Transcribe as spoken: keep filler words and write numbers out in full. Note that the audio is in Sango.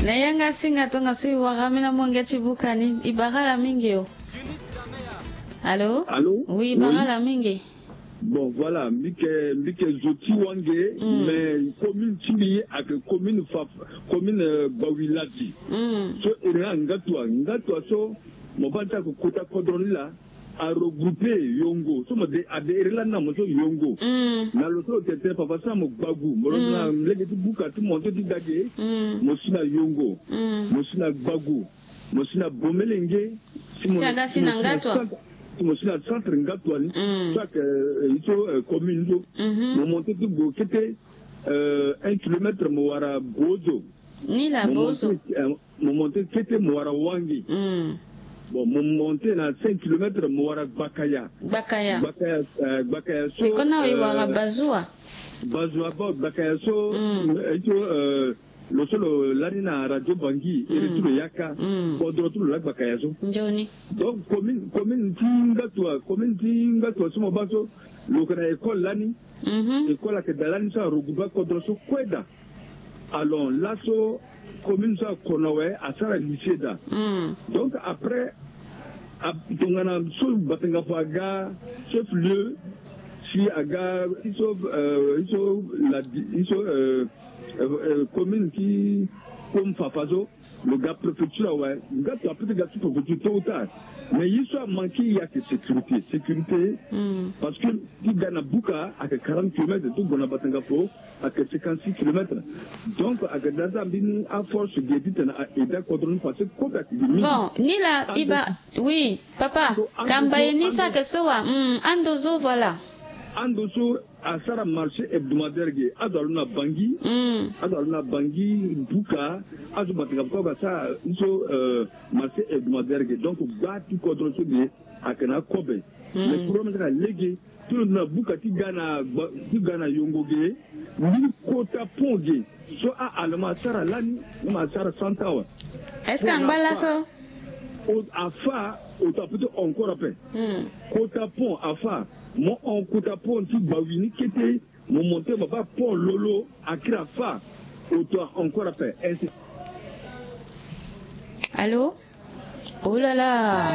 Na yanga singa tongaso e wara ambeni amonge ti buka ni. E bara ala mingi o. Allô? Allô? Oui, e bara ala mingi. Bon, voilà, mbi yeke mbi yeke zo ti wange. Mais commune ti mbi ayeke commune fa, commune, euh, Bawiladi. So e iri nga Ngatua, Ngatua so mo baa ti ayeke kota kodro ni laa. A regrouper Yongo so mo de, a de iri lani na mo so Yongo. Na lo so lo tene tënë fafa so na mo Gbagu, mo lo na lege ti buka ti monté ti da ge. Mo si na Yongo, mo si na Gbagu, mo si na Bomelenge. Si mo aga si na Ngatua, si mo si na centre Ngatua ni, so ayeke, euh, ye so, euh, commune so, mo monté ti gue kete, euh, un kilomètre mo wara Bozo. Ni la Bozo. Mo monté kete mo wara Wangi. Bon, mo monté na cinq kilomètres mo wara Gbakaya. Gbakaya. Gbakaya, euh, Gbakaya so, e kona e wara, euh, Bazua. Bazua, bon, Gbakaya so, euh, so, euh, lo so lo lani na radio Bangui, iri ti lo yaka. Kodro ti lo laa Gbakaya so. Nzoni. Donc commune, commune ti Ngatua, commune ti Ngatua so mo baa so, lo yeke na école lani. École ayeke daa lani so a regrouper kodro so kue daa. Alors laso commune so akona awe, asara lycée daa. Donc après, a, tongana so Batenga Fo aga chef lieu, si aga ye so, euh, ye so la, ye so, euh, euh, euh, commune ti Kom Fafa so, lo ga préfecture awe, Ngatua peut ti ga sous-préfecture tôt ou tard. Mais ye so amanke ye ayeke sécurité, sécurité. Parce que ti ga na buka ayeke quarante kilomètres, ti gue na Batenga Fo ayeke cinquante-six kilomètres. Donc ayeke daa so ambeni aforce ge titene a aida kodro ni parce que kobe ayeke ge mingi. Bon, ni la, e baa, oui, papa, kamba ye ni so ayeke so wa, hmm, ando so, voilà. Ando so asara marché hebdomadaire ge, azo alo na Bangui, azo alo na Bangui, buka, azo Batenga Fo kue asara ye so, euh, marché hebdomadaire ge. Donc gba ti kodro so ge ayeke na akobe. Mais problème ti ayeke na lege, ti lo na buka ti ga na, ti ga na Yongo ge, ni kota pont ge so a-Allemand asara lani, ni ma asara cent ans awe. Est-ce que angba laso? Afa, o ta peut encore ape. Kota pont afa, mo hon kota pont ti Bawi ni kete, mo monté mo baa pont Lolo akiri afa, o ta encore ape. Ainsi. Allô? Oh là là.